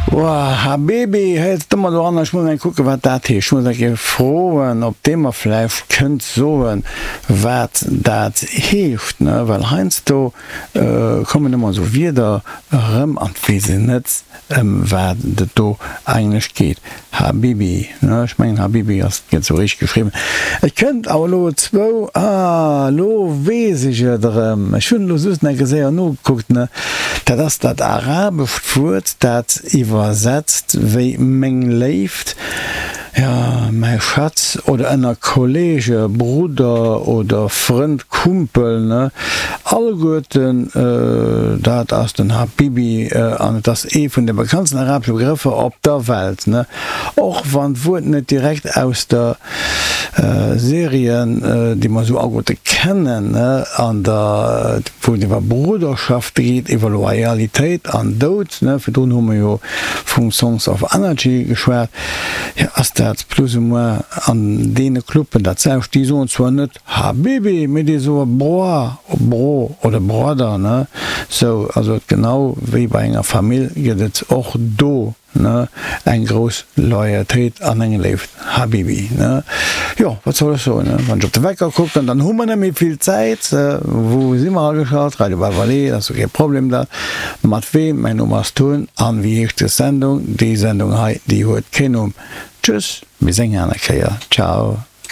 Woah, Habibi, héiert et ëmmer doranner, ech muss eng kucken, wat dat heescht. Ech muss eng Kéier froen, ob dee mer vläicht kënnt soen, wat dat heescht, ne, well heiansdo kommen ëmmer esou Wierder erëm an 't weess een net, ëm wat et do eigentlech geet. Habibi, ne, ech mengen Habibi ass gëtt esou richteg geschriwwen. Et kënnt awer elo zwou, ah, elo weess ech et erëm, ech hunn elo just nach eng Kéier séier nogekuckt, ne, dat ass dat arabescht Wuert, dat iwwersetzt wéi meng Léift, Jo, mäi Schatz, oder ënner Kollege, Brudder oder Frënd, Kumpel, ne, alleguerten, dat ass den Habibi an et ass ee vun de bekanntsten arabesche Begrëffer op der Welt, ne, och wann d'Wuert net direkt aus der Serie, déi mer esou alleguerte kennen, ne, an der, wou et iwwer Brudderschaft geet, iwwer Loyalitéit an Doud, ne, virdrun hu mer jo vum Sons of Anarchy geschwat. Jo, ass dat plus ou moins an deene Cluben dat selwecht? Déi soen zwar net Habibi, mee déi soe Broa, Bro oder Brother, ne? Sou, also et genau wéi bei enger Famill gëtt et och do, ne, eng grouss Loyautéit an eng Léift. Habibi, ne? Jo, wat soll ech soen, ne? Wann ech op de Wecker kucken, dann hu mer net méi vill Zäit. Wou si mer ageschalt? Radio Bavali, dat ass jo kee Problem dat. Mat weem? Mäin Numm ass Tun. An wéi heescht des Sendung? Déi Sendung hei, déi huet keen Numm. Tschüss, bis eng aner Kéier. Ciao.